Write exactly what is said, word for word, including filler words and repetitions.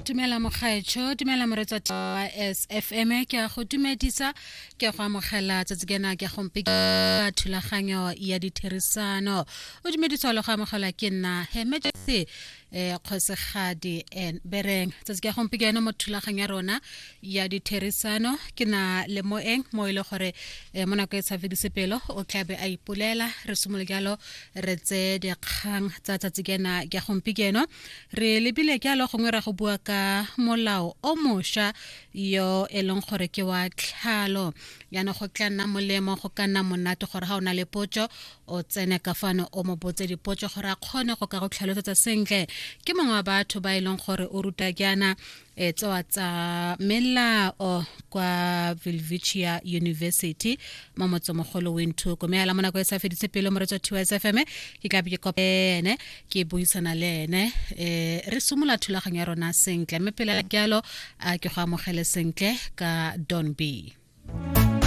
Dumela mogaetsho, dumela moreetsi wa S F M, ke a go dumedisa, ke a go amogela tsatsi kena ke gompi ka thulaganyo ya ditherisano. O dumediswa le go amogelwa ke nna Hemetse eh Kgosigadi N Bereng. Tsatsi ke gompieno mo thulaganyo ya rona ya ditherisano ke na le moeng mo e le gore mo nako e sa fedise pelo o tla be a ipolela. Re simolola jalo re tse dikgang tsa tsatsi kena ke gompieno, re lebile jalo gongwe ra go bua ka molao o mošwa yo e leng gore ke wa tlhalo. Jaanong go tla nna molemo, go ka nna monate gore ga o na le potso o tsene ka fano o mo botse dipotso gore a kgone go ka go tlhalosetsa sentle. Ke mongwe wa batho ba e leng gore o ruta jaana e tsewa tsa melao kwa Welwitschia University mo motsemogolo Windhoek. Mme ala mo nako e sa fedise pelo moreetsi wa T S F M, ke tla be ke kopane ke buisana le ene, eh re simolola thulaganyo ya rona sentle. Mme pele jalo a ke go amogele sentle ka Don B.